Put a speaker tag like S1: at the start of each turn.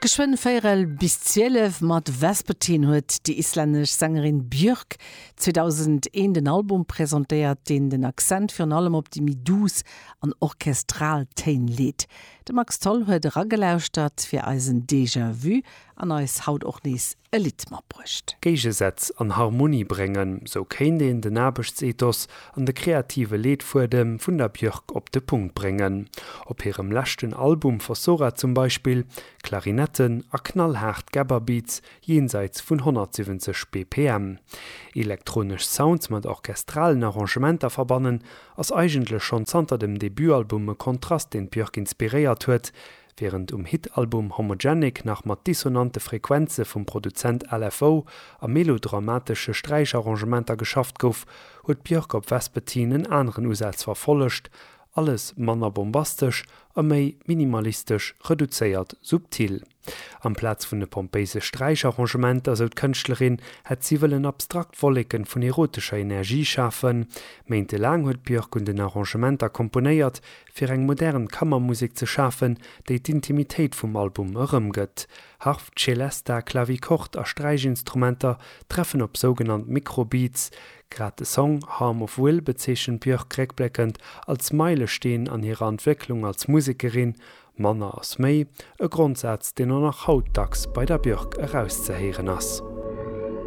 S1: Geschwënn véierel bis 12 mat Vespertine huet déi islännesch Sängerin Björk 2001 den Album presentéiert, deen den Accent virun allem op déi méi duuss an orchestral Téin leet. De Max Tholl huet eragelauschtert fir eisen Déjà Vu an eis haut och nees e Lidd matbruecht.
S2: Géigesätz an Harmonie bréngen, sou kéint een den Aarbechtsethos an de kreative Leetfuedem vun der Björk op de Punkt bréngen. Op hirem leschten Album Fossora zum Beispill, Klarinetten a knallhaart Gabber-Beats jenseits vun 170 BPM. Elektronesch Sounds mat orchestralen Arrangementer verbannen, ass eigentlech schonn zanter dem Debutalbum e Kontrast, deen d'Björk inspiréiert huet, Wärend um Hit-Album Homogenic nach mat dissonante Frequenze vum Produzent LFO a melodramatesche Sträicharrangementer geschafft gouf, huet d'Björk op Vespertine en aneren Usaz verfollegt, alles manner bombastesch a méi minimalistesch, reduzéiert, subtil. Amplaz vun de pompéise Sträicharrangementer, sou d'Kënschtlerin, hätt si wëllen abstrakt Wolleken vun erotescher Energie schafen. Méintelaang huet d'Björk un den Arrangementer komponéiert, fir eng modern Kammermusek ze schafen, déi d'Intimitéit vum Album erëmgëtt. Harf, Celesta, Clavichord a Sträichinstrumenter treffen op sougenannt Microbeats. Grad de Song Harm of Will bezeechent d'Björk réckbléckend als Meilesteen an hirer Entwécklung als Musekerin, Manner ass méi, e Grondsaz, deen och nach haut dacks bei der Björk erauszehéieren ass.